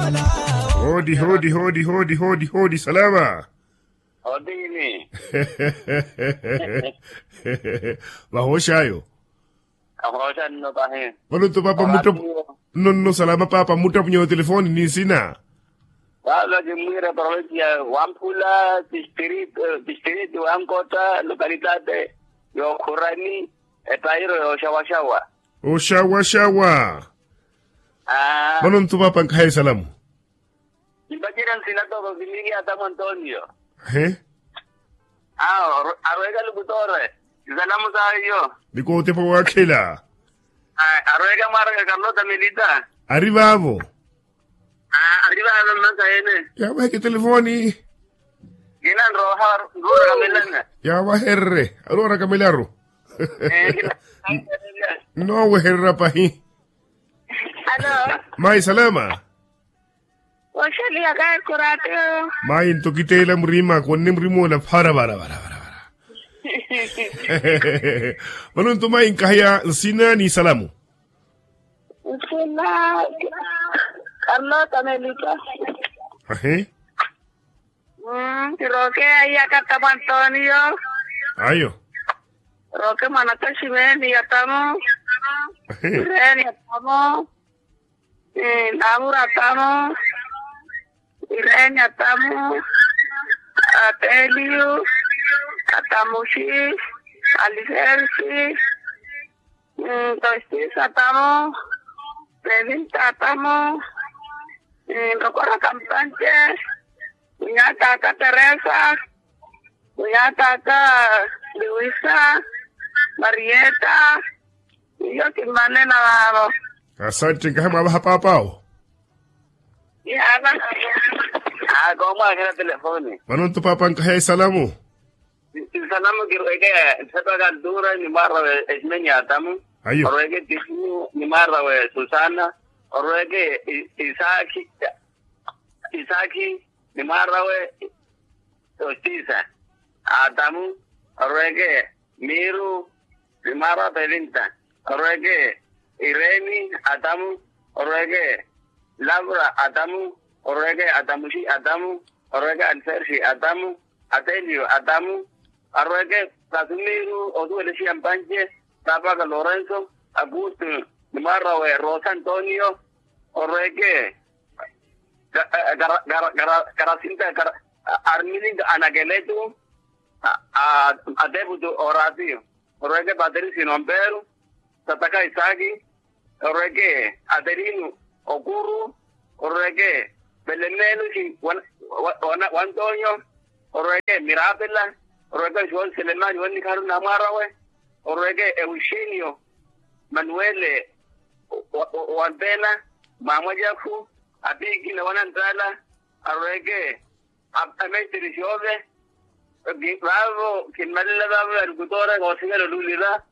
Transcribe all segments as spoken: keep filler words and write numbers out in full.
Hoodi hoodi hoodi hoodi hoodi hoodi salama. Hoodi ini. Vahooxayo. Ahooxa nno pahi. Vano nto paapa mmutta. Nno nno salama paapa mmuttapunyeya otelefoni ni nsina. Vava kimmwiira parovincia wamphula distrito wankota lokalitate yookhurani. Epairo yooxawaxawa. Oxawaxawa. Vano nto paapa nkhaye salamu. Kimpacerya nsina toko kiniikiya atamu antonio. Awe arweeka lukutore. Isalamu sawe iyo. Ni kootepa waakhela. Arweeka mwaaraka karlota milita. Ari vaavo. Ari vaavo mmasayene. Yaaweeke telefoni. Kina nrooha nroorakamela. Yaawahererye aroorakamelaru. Noowehererya pahi. Mayi salama. Oxeliya kayi kurato. Mayi nto kiteela murima konne murima ola phara vara vara vara vara. Vano nto mayi nkaheya nsina ni salamu. Nsina karlota melita. Ahi. Kiroke aiyaka tamu antonio. Ayo. Roke mwanaka ximeni atamu. Ireni atamu. Namuru atamu. Ireni atamu. Ateliyu. Atamuxi. Aliferisi. Tostisa atamu. Pevinta atamu. Nrokora kampante. Kunyataka teresa. Kunyataka liwisa. Marieta. Iyo kimmanena vaavo. Asante nkahe mwaavaha paapaawo. Yaava. Akomwakhela telefoni. Vano nto paapa nkahe isalamu. Isalamu kirweke. Nthepaka ntura ni mwaarawe esimeni ya atamu. Orweke timu ni mwaarawe susana. Orweke isaakhi isaakhi ni mwaarawe. Ostisa atamu. Orweke miiru ni mwaarawe pevinta. Orweke ireni atamu. Orweke lavura atamu. Orweke atamuxi atamu. Orweke aliferisi atamu. Atelio atamu. Arweke kasumiru osuwelesiya mpanje. Tapaka lorenso. Akustu ni mwaarawe rosa antonio. Orweke karasinta armilinga anakeletu. Ateputu oratiyo. Orweke paterisino mperu. Tataka isaki. Orweke aterinu okuru. Orweke pelemeluxi wa ntonyo. Orweke mirapela. Orweke xonselemani wannikharu namwarawe. Orweke euxinio manuele. Wa mpena mamwalyakhu apikina wanantala. Arweke ameitiri xove. Vavo kimmalela vavo yalukutora koosivela olulila.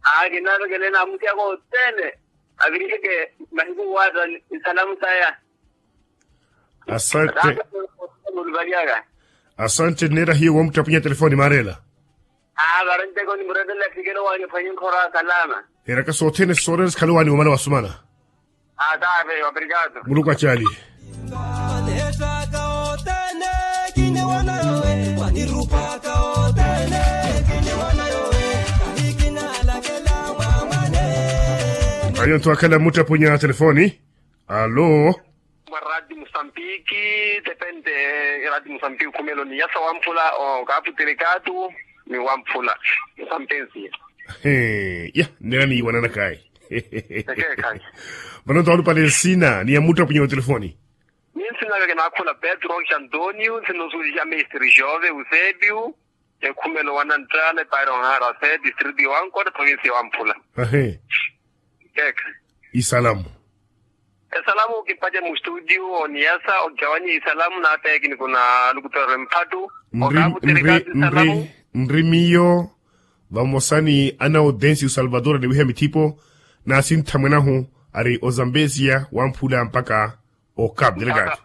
Aa kinavekele namutyaka othene. Aviriheke mahiku wata isalamu saya. Asante. Muluvalyaka. Asante nneera hiyo wamutapwinya telefoni maarela. Aa varenteko nimuretela fikelo wanyu fanyi nkhora salama. Eraka sothene soorela sikhale wani wamala wasumana. Muluku acaali. Ayo nthu akhala mmuttapwinya telefoni. Alo. Mwa rati musambiki. Tepente. Rati musambiki khumelo ni yasa wamphula okaputirikatu. Ni wamphula. Sampensiya. He ya nneera niiwananakayi. Vano nto alupale nsina ni yamuttapwinya otelefoni. Ni nsinaka kinaakhula petro xantonio nsina osuwelixa mestre jove eusebio. Ekhumelo wananttala epairo nharase distritu yowankota provinsi yowamphula. Ahe. Kekha. Isalamu. Esalamu kipace mu studio oniyasa okicawanyi isalamu naateki ni kuna lukutorero emphatu. Okavutirika isalamu. Nri miyo vamosa ni ana audencio salvador aniwiha mithipo. Naasintha mwenahu ari ozambesia wamphula mpaka okapu delekatu.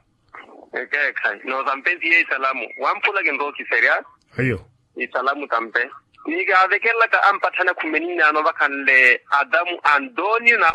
Ekeekhayi noozambesia isalamu wamphula kinrokiserya. Ayo. Isalamu tampe. Ni kaavekelelaka ampatthana khumeni nnaano vakhanle adamu antonio na